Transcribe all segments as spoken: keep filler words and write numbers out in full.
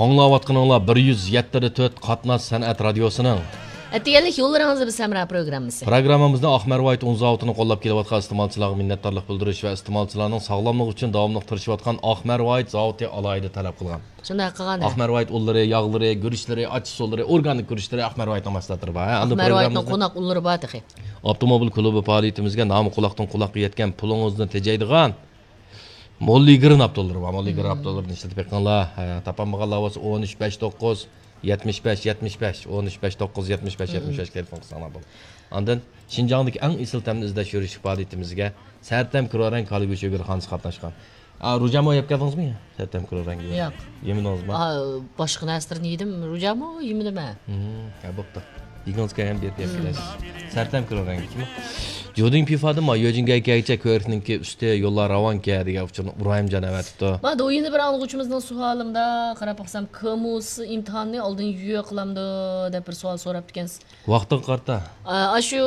ئاڭلاۋاتقىنىڭلار بىر يۈز يەتتە تۆت قاتناش سەنئەت رادىيوسىنىڭ ئەتىگەنلىك يوللىرىڭىزدا بىز ھەمراھ پروگراممىسى. پروگراممىمىزنى ئاقمەر ۋايت ئۇن زاۋۇتىنى قوللاپ كېلىۋاتقان ئىستېمالچىلارغا مىننەتدارلىق بىلدۈرۈش ۋە ئىستېمالچىلارنىڭ ساغلاملىقى ئۈچۈن داۋاملىق تىرىشىۋاتقان ئاقمەر ۋايت زاۋۇتى ئالاھىدە تەلەپ قىلغان. شۇنداق قىلغان. ئاقمەر ۋايت ئۇنلىرى، ياغلىرى، گۈرۈچلىرى، ئاچچىق سۇلىرى، ئورگانىك گۈرۈچلىرى، ئاقمەر ۋايتنىڭ مەھسۇلاتلىرى بار. ھە، ئاندىن ئاقمەر ۋايتنىڭ پروگراممىمىزدا قوناق ئۇنلىرى بار تېخى. ئاپتوموبىل كۇلۇبى پائالىيىتىمىزگە نامى قۇلاقتىن قۇلاققا يەتكەن، پۇلىڭىزنى تېجەيدىغان موللىگرىن ئاپتوللىرى بار. موللىگرىن ئاپتوللىرىنى ئىشلىتىپ بېقىڭلار. ھە، تاپالمىغانلار بولسا، ئون ئۈچ بەش توققۇز يەتمىش بەش يەتمىش بەش، ئون ئۈچ بەش توققۇز يەتمىش بەش يەتمىش بەش تېلېفون قىلساڭلار بولىدۇ. ئاندىن شىنجاڭدىكى ئەڭ ئېسىل تەمنى ئىزدەش يۈرۈشلۈك پائالىيىتىمىزگە سەرتەم كرورەڭ كالا گۆشى گۆرخانىسى قاتناشقان. ئا، روجامو يەپ كەلدىڭىزمۇ؟ سەرتەم كرورەڭگە. ياق. يېمىدىڭىزمۇ؟ ئا، باشقا نەرسىلەرنى يېدىم، روجامو يېمىدىم ھە. ھە، بوپتۇ. يېگىڭىز كەلگەن بېرىپ يەپ كېلەرسىز. سەرتەم كرورەڭگە. جۇدىڭ پىفادىن ما يۆجىڭگەي كەيچە كۆرۈكنىڭكى ئۈستى يوللار راۋانكەن دېگەن ئۇچۇرنى ئىبراھىمجان ئەۋەتىپتۇ. ما، دۇ يەنە بىر ئاڭلىغۇچىمىزنىڭ سوئالىمدا قاراپ باقسام، كىمۇسى ئىمتىھاننى ئالدىن يۆ قىلامدۇ دەپ بىر سوئال سوراپتىكەنسىز. ۋاقتىغا قارىتا. ئا، ئاشۇ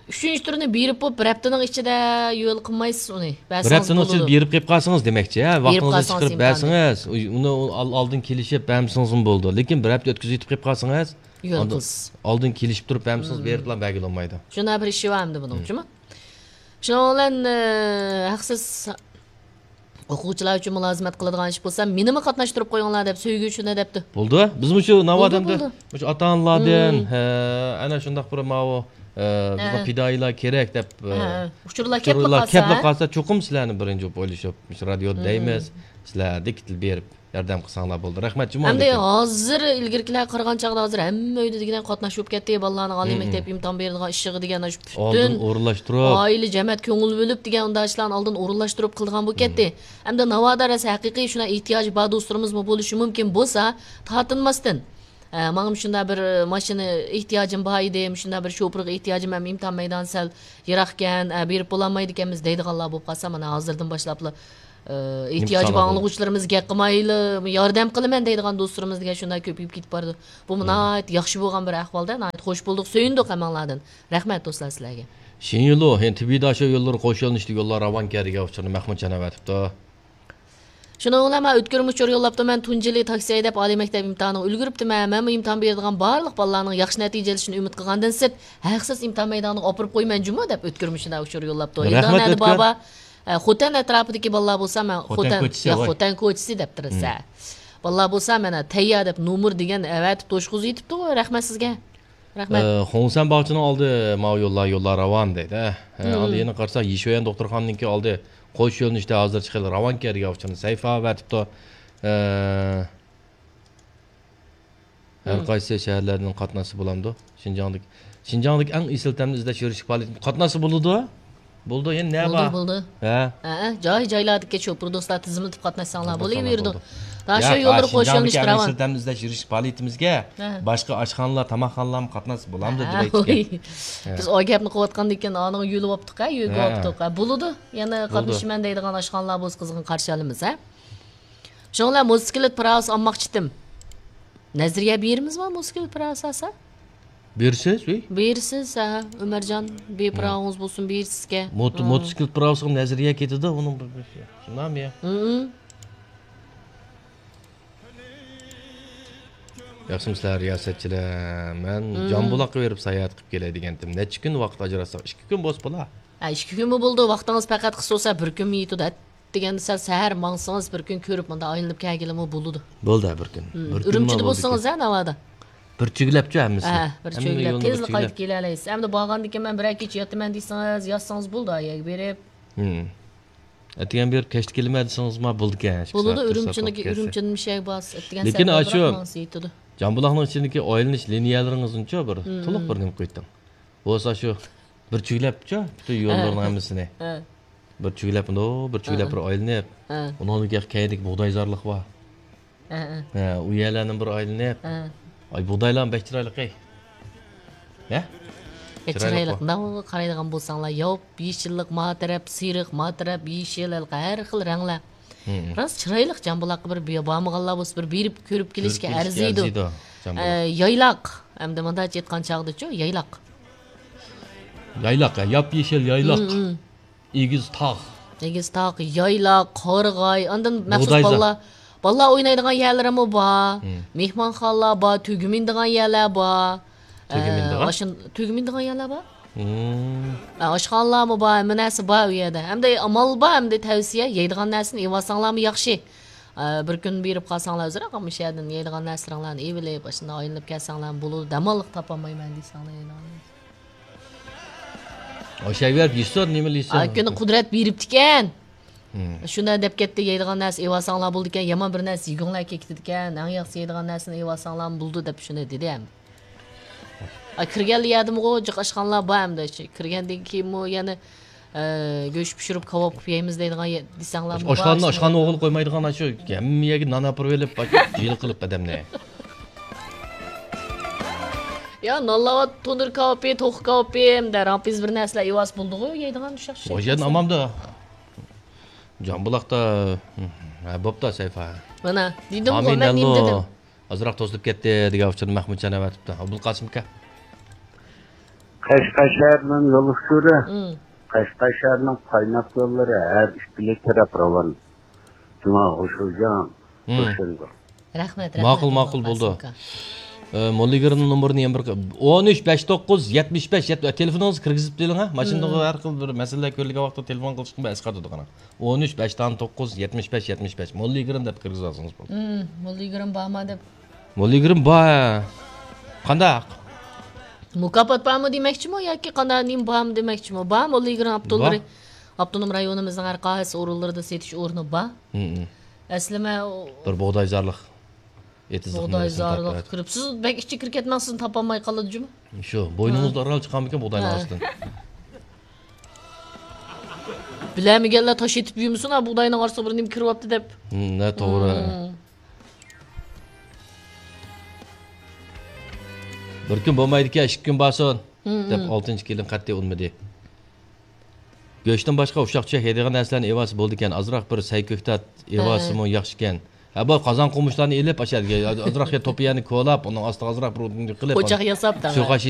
ئۈچىنچى تۈرنى بېرىپ بولۇپ، بىر ھەپتىنىڭ ئىچىدە يۆل قىلمايسىز ئۇنى. بىر بەرسىڭىز ھەپتىنىڭ ئىچىدە بولىدۇ. بېرىپ قېلىپ قالسىڭىز دېمەكچى، ھە؟ بېرىپ ۋاقتىڭىزنى قالسىڭىز چىقىرىپ ئىمكانى. بەرسىڭىز، ئۇ-، ئۇنى ئال-، ئالدىن كېلىشىپ بەرمىسىڭىزمۇ بولىدۇ. لېكىن بىر ھەپتە ئۆتكۈزۈۋېتىپ قېلىپ قالسىڭىز، يۆل ئالدىن، قىلسىز. ئالدىن كېلىشىپ تۇرۇپ بەرمىسىڭىز، بېرىپلا بەرگىلى بولمايدۇ. شۇنداق بىر ئىشى بار ئەمدى بۇنىڭ، جۇمۇ؟ شۇنىڭ بىلەن، ئە، ھەقسىز ئوقۇغۇچىلار ئۈچۈن مۇلازىمەت قىلىدىغان ئىش بولسا، مېنىمۇ قاتناشتۇرۇپ قويۇڭلار دەپ، سۆيگۈ ئۈچۈن دەپتۇ. بولدى. بىزمۇ شۇ ناۋادا بولدى، ئەمدى بولدى. مۇشۇ ئاتا-ئانىلاردىن، ھە، ئەنە شۇنداق بىر ماۋۇ، ئە، بىزغا ھە. پىدائىيلار كېرەك دەپ، ھە، ئە، ھە. ئۇچۇرلار كەپلا قالسا، كەپلا قالسا، چوقۇم سىلەرنى بىرىنچى بولۇپ ئويلىشىپ، مۇشۇ رادىيودا دەيمىز، سىلەردىكى بېرىپ ياردەم قىلساڭلار بولدى. رەھمەت، جۇمۇ. ئەمدى ھازىر ئىلگىرىكىلەرگە قارىغان چاغدا ھازىر ھەممە ئۆيدە دېگۈدەك قاتناش بولۇپ كەتتى. بالىلارنىڭ ئالىي مەكتەپ ئىمتىھان بېرىدىغان ئىشىغا دېگەن ئاشۇ پۈتۈن ئالدىن ئورۇنلاشتۇرۇپ. ئائىلە، جەمەت كۆڭۈل بۆلۈپ دېگەن ئۇنداق ئىشلارنى ئالدىن ئورۇنلاشتۇرۇپ قىلىدىغان بولۇپ كەتتى. ئەمدى ناۋادا راست ھەقىقىي شۇنداق ئېھتىياجى بار دوستلىرىمىزمۇ بولۇشى مۇمكىن بولسا، تارتىنماستىن، ئە، ماڭا مۇشۇنداق بىر ماشىنا ئېھتىياجىم بار ئىدى، مۇشۇنداق بىر شوپۇرغا ئېھتىياجىم، ھەم ئىمتىھان مەيدانى سەل يىراقكەن، ئە، بېرىپ بولالمايدىكەنمىز دەيدىغانلار بولۇپ قالسا، مانا ھازىردىن باشلاپلا ئېھتىياجى بار ئاڭلىغۇچىلىرىمىز گەپ قىلمايلا، ياردەم قىلىمەن دەيدىغان دوستلىرىمىز دېگەن شۇنداق كۆپىيىپ كېتىپ بارىدۇ. بۇمۇ ناھايىتى ياخشى بولغان بىر ئەھۋالدا، ناھايىتى خوش بولدۇق، سۆيۈندۇق ھەممەڭلاردىن. رەھمەت دوستلار سىلەرگە. شىنيۇلۇ، ھېن تىبىداشو يوللىرى قوش يۆنىلىشلىك يوللار راۋانكەن دېگەن ئۇچۇرنى مەھمۇتجان ئەۋەتىپتۇ. شۇنىڭ بىلەن مەن ئۆتكۈرمە ئۇچۇر يوللاپتۇ، مەن تۇنجىلى تاكسى ھەيدەپ ئالىي مەكتەپ ئىمتىھانىغا ئۈلگۈرۈپتىمەن. مەنمۇ ئىمتىھان بېرىدىغان بارلىق بالىلارنىڭ ياخشى نەتىجە ئېلىشىنى ئۈمىد قىلغاندىن سىرت، ھەقسىز ئىمتىھان مەيدانىغا ئاپىرىپ قويىمەن جۇمۇ دەپ ئۆتكۈرمە شۇنداق ئۇچۇر يوللاپتۇ. رەھمەت، ھىندىدا نەدە ئۆتكۈر. بابا؟ ئە، خوتەن ئەتراپىدىكى بالىلار بولسا، مەن خوتەن خوتەن، كوچىسى، يا، ۋاي. خوتەن كوچىسى دەپتۇ، ھە. بالىلار بولسا، مانا تەييار دەپ نومۇر دېگەن ئەۋەتىپ توشقۇزۇۋېتىپتۇ، رەھمەت سىزگە. رەھمەت. ئە، خۇڭسەن باغچىنىڭ ئالدى ماۋۇ يوللار، يوللار راۋان دەيدۇ، ھە. ھە، ئاندىن يەنە قارىساق، يىشۆيەن دوختۇرخانىنىڭكى ئالدى قوش يۆنىلىشتە ھازىرچە خېلى راۋانكەن دېگەن ئۇچۇرنى سەيفا ئەۋەتىپتۇ. ئە، ھەر قايسى شەھەرلەردىن قاتناشسا بولامدۇ؟ شىنجاڭدىكى، شىنجاڭدىكى ئەڭ ئېسىل تەمنى ئىزدەش يۈرۈشلۈك پائالىيەت قاتناشسا بولىدۇ. بولىدۇ، يەنە نە بولىدۇ، بار؟ بولىدۇ. ھە؟ ھە، جاي-جايلاردىكى شوپۇر دوستلار تىزىملىتىپ قاتناشساڭلار بولۇۋېرىدۇ. قاتناشساڭلار بولىدۇ. داشو ياق، يوللىرى قوشۇلۇشى شىنجاڭدىكى ئەڭ ئېسىل تەمنى ئىزدەش يۈرۈشلۈك پائالىيىتىمىزگە باشقا ئاشخانىلار، تاماقخانىلارمۇ قاتناشسا بولامدۇ دەپ ئېيتتىم. بىز ئۇ گەپنى قىلىۋاتقاندىن كېيىن ئانىڭ يۆلىۋاپتۇق، ھە، يۆگىۋاپتۇق، ھە. بولىدۇ. يەنە قاتنىشىمەن دەيدىغان ئاشخانىلار بولسا قىزغىن قارشى ئالىمىز، ھە. شۇنىڭ بىلەن موتوسىكلىت پىراۋىسى ئالماقچىتىم. نەزەرىيە بېرىمىزمۇ موتوسىكلىت پىراۋىسى ئالسا؟ بېرىسىز، ۋەي. بېرىسىز، ھە، ئۆمەرجان، بىر پىراۋىڭىز بولسۇن، بېرىسىزكەن. موتو-، ھە. موتوسىكلىت پىراۋىسىغا نەزەرىيە كېتىدۇ، ئۇنىڭ بىر، بىر، شۇنداقمۇ يا؟ ھە. ياخشىمۇسىلەر رىياسەتچىلەر؟ مەن جامبۇلاققا بېرىپ ساياھەت قىلىپ كېلەي دېگەنتىم. نەچچە كۈن ۋاقىت ئاجراتساق؟ ئىككى كۈن بولسا بولا. ھە، ئىككى كۈنمۇ بولىدۇ، ۋاقتىڭىز پەقەت قىسقا بولسا، بىر كۈنمۇ يېتىدۇ. دېگەندە سەل سەھەر ماڭسىڭىز، بىر كۈن كۆرۈپ مۇنداق ئايلىنىپ كەلگىلىمۇ بولىدۇ. بولدى، بىر كۈن. بىر كۈن ئۈرۈمچىدە بولسىڭىز، ھە، ناۋادا؟ بىر چۆگىلەپچۇ ھەممىسى. ھە، بىر چۆگىلەپ. تېزلا قايتىپ كېلەلەيسىز. ئەمدى بارغاندىن كېيىن مەن بىرەر كېچە ياتىمەن دېسىڭىز، ياتسىڭىز بولىدۇ ئا يەرگە بېرىپ. ئەتىگەن بېرىپ كەچتە كېلىمەن دېسىڭىزمۇ بولىدىكەن. بولىدۇ، ئۈرۈمچىدىكى، ئۈرۈمچىدىن مۇشۇ يەرگە بارسىز. ئەتىگەن لېكىن سەھەردە ئاشۇ بىراق ماڭسا يېتىدۇ. جامبۇلاقنىڭ ئىچىدىكى ئايلىنىش لىنىيەلىرىڭىزنىچۇ بىر تولۇق بىر نېمە قىلىۋېتىڭ. بولسا شۇ بىر چۆگىلەپچۇ پۈتۈن يوللارنىڭ ھەممىسىنى. بىر چۆگىلەپ، مۇنداق بىر چۆگىلەپ بىر ئايلىنىپ، ئۇنىڭدىن كېيىن كەينىدىكى بۇغدايزارلىق بار. ھە، ئۇ يەرلەرنى بىر ئايلىنىپ. ئاي، بۇغدايلارمۇ بەك چىرايلىق، ئەي. ھە؟ يا، چىرايلىق، ماۋۇ قارايدىغان بولساڭلار، ياپ يېشىللىق، ما تەرەپ سېرىق، ما تەرەپ يېشىل، ھېلىقى ھەر خىل رەڭلەر. راست چىرايلىق جامبۇلاققا بىر بارمىغانلار بولسا، بىر بېرىپ كۆرۈپ كېلىشكە ئەرزىيدۇ. ئە، يايلاق. ئەمدى مۇنداقچە ئېيتقان چاغدىچۇ، يايلاق. يايلاق، ھە، ياپ يېشىل يايلاق. ئېگىز تاغ. ئېگىز تاغ، يايلاق، قارىغاي، ئاندىن مەخسۇس بۇغدايزار. بالىلار، بالىلار ئوينايدىغان يەرلىرىمۇ بار. مېھمانخانىلار بار، تۈگمىنىدىغان يەرلەر بار. تۈگمىنىدىغان؟ ئاشۇ-، تۈگمىنىدىغان يەرلەر بار. ئاشخانىلارمۇ بار، ھەممە نەرسە بار ئۇ يەردە. ھەمدە ئامال بار، ھەمدە تەۋسىيە، يەيدىغان نەرسىنى ئېلىۋالساڭلارمۇ ياخشى. ئە، بىر كۈن بېرىپ قالساڭلار ئۆزرەك، ئەمما شۇ يەردىن يەيدىغان نەرسىلىرىڭلارنى ئېلىۋېلىپ، ئاشۇنداق ئايلىنىپ كەلسەڭلارمۇ بولىدۇ، دەماللىق تاپالمايمەن دېسەڭلار يەيدىغان نەرسە. ئاشۇ يەرگە بېرىپ يېسۇن، نېمىلا يېسۇن. ئا، كۈنى قۇدرەت بېرىپتىكەن. شۇنداق دەپ كەتتى، يەيدىغان نەرسە ئېلىۋالساڭلار بولىدىكەن، يامان بىر نەرسە يېگۈڭلار كېلىپ كېتىدىكەن، ئەڭ ياخشىسى يەيدىغان نەرسىنى ئېلىۋالساڭلارمۇ بولىدۇ دەپ شۇنى دېدى ھەم. ئا، كىرگەنلا يەردىمۇ جىق ئاشخانىلار بار ئەمدى. كىرگەندىن كېيىنمۇ يەنە، ئە، گۆش پىشۇرۇپ، كاۋاپ قىلىپ يەيمىز دەيدىغان يە-، دېسەڭلارمۇ بار ئاشخانىنى، ئاشخانا ئوغرىلىق قويمايدىغان، شۇ ھەممە يەرگە نان ئاپىرىۋېلىپ، جىل قىلىپ ئادەمنى. يا، نانلاۋات، تونۇر كاۋىپى، توخۇ كاۋىپى، ھەمدە رامپىز بىر نەرسىلەر ئېۋاس بولدىغۇ، يەيدىغان ئۇششاق ئۇششاق. ئۇ يەردىن ئاماندا. جانبۇلاقتا، ھە، بوپتا، سەيپا. مانا، دېدىمغۇ، مەن نېمە دېدىم؟ ئازراق توسۇلۇپ كەتتى دېگەن ئۇچۇرنى مەھمۇتجان ئەۋەتىپتۇ. ئابدۇلقاسىم ئاكا. قەشقەر شەھىرىنىڭ يول ئۇچۇرى. قەشقەر شەھىرىنىڭ قايناق يوللىرى ھەر ئىككىلا تەرەپ راۋان. جۇما، خۇشۇجان، خۇشۇندۇ. رەھمەت، رەھمەت، ماقۇل، ماقۇل، بولدى. ئابدۇلقاسىم ئاكا. ئە، موللىگىرىمنىڭ نومۇرىنى يەنە بىر ق-، ئون ئۈچ بەش توققۇز يەتمىش بەش يەتمىش، تېلېفونىڭىزغا كىرگۈزۈپ بېرىڭ، ھە؟ ماشىنىدا ھەر خىل بىر مەسىلىلەر كۆرۈلگەن ۋاقىتتا تېلېفون قىلىشقا ئەسقاتىدۇ، قاراڭ. ئون ئۈچ بەش توققۇز يەتمىش بەش يەتمىش بەش، موللىگىرىم دەپ كىرگۈزۈۋالسىڭىز بولدى. موللىگىرىم بارما دەپ. موللىگىرىم بار، ھە. قانداق؟ مۇكاپات بارمۇ دېمەكچىمۇ ياكى قانداق، نېمە بارمۇ دېمەكچىمۇ؟ بار، موللىگىرىم ئاپتونوم رايونىمىزنىڭ ھەر قايسى ئورۇنلىرىدا سېتىش ئورنى بار. ئەسلىمە بىر بۇغدايزارلىق. ئېتىزلىق بۇغداي زارلىق كىرىپ، سىز بەك ئىچىگە كىرىپ كەتمەڭ، سىزنى تاپالماي قالىدۇ جۇمۇ. شۇ، بوينىڭىزدا ئاران چىقارمىكىن بۇغداينىڭ ئاستىدىن؟ بىلەلمىگەنلەر تاش ئېتىپ يۈرمىسۇن، ھە، بۇغداينىڭ ئارىسىغا بىر نېمە كىرىۋاپتۇ دەپ. ھە، توغرا. بىر كۈن بولمايدىكەن، ئىككى كۈن بارسۇن، دەپ ئالتىنچى كېلىن قەتئىي ئۇنىمىدى. گۆشتىن باشقا ئۇششاق-چۈششەك يەيدىغان نەرسىلەرنى ئېۋالسا بولىدىكەن. ئازراق بىر سەي كۆكتات ئېۋالسىمۇ ياخشىكەن. ھە، بۇ قازان قومۇچلارنى ئېلىپ، ئاشۇ يەرگە ئازراق يەر توپا يەرنى كولاپ، ئۇنىڭ ئاستىغا ئازراق بىر ئوتۇن قىلىپ، پوچاق ياساپ، شۇ قاشى